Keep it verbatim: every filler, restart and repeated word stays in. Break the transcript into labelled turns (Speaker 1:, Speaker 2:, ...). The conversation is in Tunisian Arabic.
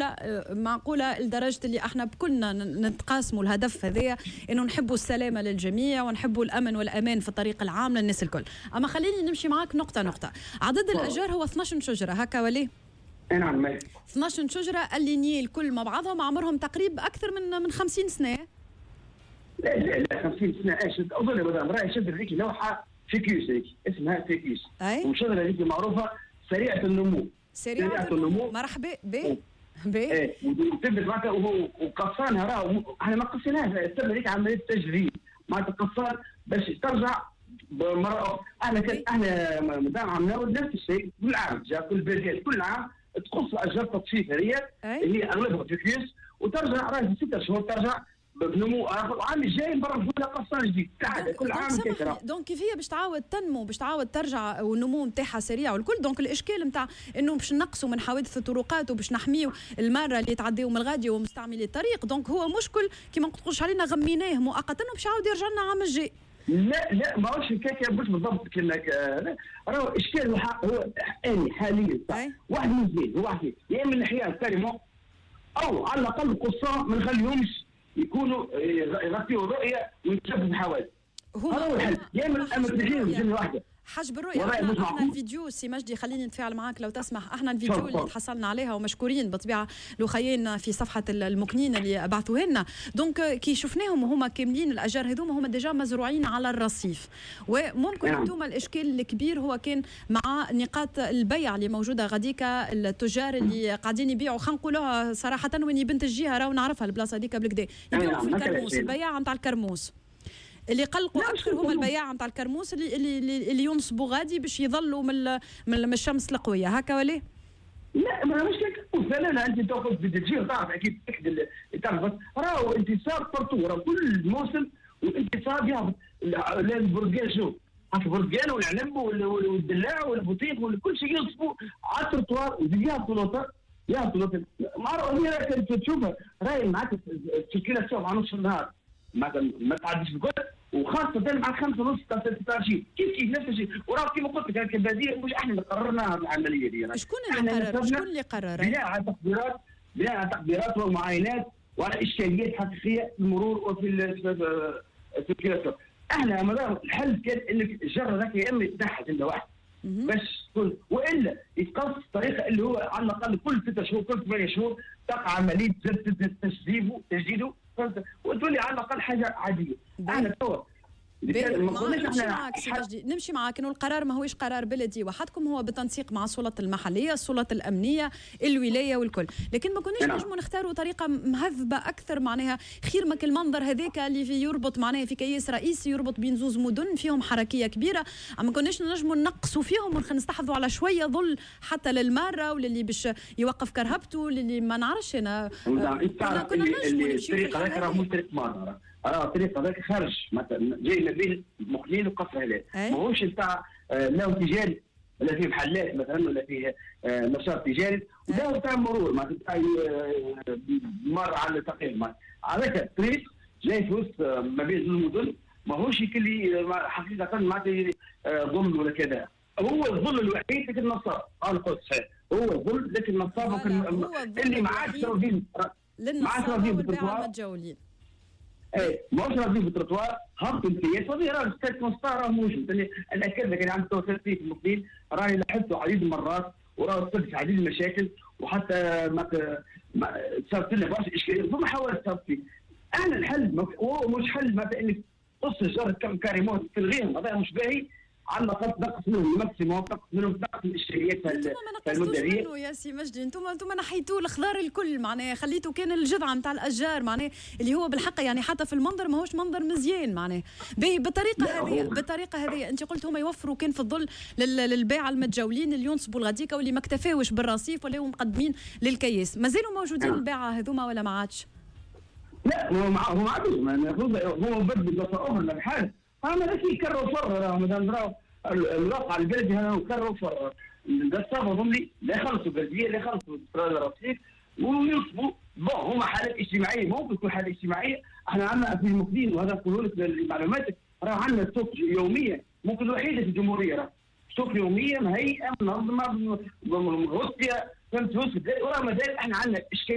Speaker 1: معقوله، معقولة لدرجة اللي احنا بكلنا نتقاسموا الهدف هذايا، انه نحبوا السلامة للجميع ونحبوا الامن والامان في الطريق العام للناس الكل. اما خليني نمشي معاك نقطة نقطه. عدد الاشجار هو اثناش شجرة هكا وليه؟
Speaker 2: نعم.
Speaker 1: اثناش شجرة alignés الكل مع بعضهم، عمرهم تقريبا اكثر من من خمسين سنه.
Speaker 2: لا لا لا، خمسين سنة ايش؟ اظن مدام راهي شجرة هذيك لوحة ficus، هذيك اسمها ficus.
Speaker 1: اي.
Speaker 2: والشجرة هذيك معروفة سريعة النمو.
Speaker 1: سريعة, سريعة النمو. مرحبا ب
Speaker 2: ب ايه، وتبدا معناتها وقصانها، راهو احنا ما قصيناهاش، السبب هذيك عملية تجذير، معناتها قصان باش ترجع مرة اخرى. احنا كان احنا مدام عملنا نفس الشيء كل عام، جا كل بلديه كل عام تقص اشجار تصفيف هذه اللي هي اغلبها ficus، وترجع راهي في ستة شهور ترجع بنمو اخر، وعام الجاي نبرمجوا لها قصان جديد. كعادة كل عام.
Speaker 1: كيكرا donc كيف هي باش تعاود تنمو، باش تعاود ترجع والنمو نتاعها سريع والكل، donc الاشكال نتاع انه باش نقصوا من حوادث الطرقات وباش نحميو المارة اللي يتعديو من الغادي ومستعملي الطريق، donc هو مشكل كيما نقولش علينا غميناه مؤقتا وباش يعاود يرجع لنا عام الجاي.
Speaker 2: لا لا، ماهوش هكاك، مش بالضبط كما راهو اشكال هو اني حاليا واحد من اثنين، هو واحد يا اما نحيها carrément او على الاقل قصان ما نخليهمش يكونوا يغطيوا الرؤية ويتسببوا حوادث. هذا هو الحل، يا اما اما تنحيهم جملة واحده.
Speaker 1: حجب الرؤية. احنا, احنا الفيديو سي مجدي، خليني نتفاعل معاك لو تسمح. احنا الفيديو اللي تحصلنا عليها، ومشكورين بطبيعة لخيين في صفحة المكنين اللي بعثوه لنا، donc كي شفناهم وهما كاملين الاشجار هذوما هما déjà مزروعين على الرصيف، وممكن نعم. انتم الاشكال الكبير هو كان مع نقاط البيع اللي موجودة غاديكا، التجار اللي قاعدين يبيعوا، خلينا نقولوها صراحة وين بنت الجهة راهو نعرفها البلاصة هذيك بالكدا، يبيعوا في الكرموس، البياعة نتاع الكرموس اللي قلقوا اكثر هما البياعة نتاع الكرموس اللي اللي اللي ينصبوا غادي باش يظلوا من من الشمس القوية هكا ولا؟
Speaker 2: لا، ما مش كرموس، لا لا، انت تاخذ تجي تعرف اكيد تعرف، راهو انتصاب partout، راهو كل موسم والانتصاب يهبط. البرتقال شو البرتقال والعنب والدلاع والبطيخ وكل شيء ينصبوا على التروتوار ويهبطوا لوطا، يهبطوا لوطا. مع تشوفها راهي معناتها ال circulation مع نص النهار ما تعديش الكل، وخاصة مع خمسة ونص تاع ستة كيف كيف نفس الشيء. وراه كيما قلت لك البلدية مش احنا اللي قررنا العملية دي.
Speaker 1: شكون اللي قرر؟ شكون اللي قرر؟
Speaker 2: بناء على تقديرات، بناء على تقديرات ومعاينات وعلى اشكاليات حقيقية في المرور وفي ال circulation. احنا مدام الحل كان انك الجر ذاك يا اما يتنحى جملة واحدة باش تكون، والا يتقص بطريقة اللي هو على الاقل كل ستة شهور كل ثمانية شهور تقع عملية تجديده تجديده وتولي على الاقل حاجة عادية. احنا توا
Speaker 1: نمشي معاك سي مجدي، نمشي معاك انه القرار ما هوش قرار بلدي وحدكم، هو بالتنسيق مع السلطات المحليه، السلطات الامنيه، الولاية والكل، لكن ما كناش نجموا نختاروا طريقه مهذبة اكثر معناها خير ما المنظر هذاك اللي في يربط معناها في كياس رئيسي يربط بين زوز مدن فيهم حركية كبيره، ما كناش نجموا نقصوا فيهم ونستحفظوا على شوية ظل حتى للماره وللي باش يوقف كرهبته، للي ما نعرفش انا.
Speaker 2: كنا كنا نجموا نمشيو في الطريق مش طريق ماره، راه الطريق هذاك خارج مثلا جاي ما بين مقنين وقصر هلال، ماهوش نتاع لا تجاري ولا فيه محلات مثلا ولا فيه نشاط تجاري، وده نتاع مرور معناتها مر على التقريب. هذاك الطريق جاي في وسط ما بين زوج مدن، ماهوش كلي حقيقة معناتها ظل ولا كذا، هو الظل الوحيد لكن النصاب، انا قلت صحيح هو الظل لكن النصاب اللي ما عادش راضيين،
Speaker 1: ما عادش راضيين بالتروتوار المتجولين.
Speaker 2: ايه، ماهوش راضيين بالتروتوار، هبطوا الكياس وهذه راه ستة خمسطاش راه موجود. انا اكد لك انا عندي توصل فيه في المقبل راهي لاحظته عديد المرات وراه صارت عديد المشاكل، وحتى ما صارت لنا برشا اشكاليات فما حاولت صارت فيه. احنا الحل هو مش حل مثلا انك تقص الشجر carrément تلغيهم، هذا مش باهي، على الاقل تنقص منهم ال maximum، تنقص منهم، تنقص الاشكاليات.
Speaker 1: انتم ما نقصتوش منه يا سي مجدي، انتم انتم نحيتوا الخضار الكل معناها، خليتوا كان الجذعة نتاع الاشجار معناها اللي هو بالحق يعني حتى في المنظر ماهوش منظر مزيان معناها. باهي بالطريقة هذه، بالطريقة هذه انت قلت هما يوفروا كان في الظل للباعه المتجولين اللي ينصبوا الغديكه واللي ما اكتفاوش بالرصيف ولا مقدمين للكياس، مازالوا موجودين الباعه هذوما ولا ما عادش؟
Speaker 2: لا هو هو ما عادش، هو بدل بلاصة اخرى بحال اما ذاك كروا فر، راهو مادام راهو الواقع البلدي هذا كروا فر، القصابه هم لي لا يخلصوا البلدية لا يخلصوا الرصيف وينصبوا. bon هما حالات اجتماعية، ممكن تكون حاله اجتماعية. احنا عندنا في المقدين وهذا نقول لك لمعلوماتك، راه عندنا سوق يومية ممكن الوحيدة في الجمهوريه، راه سوق يومية مهيئة منظمة مغطيه، فهمت؟ وراه مازال احنا عندنا اشكالية.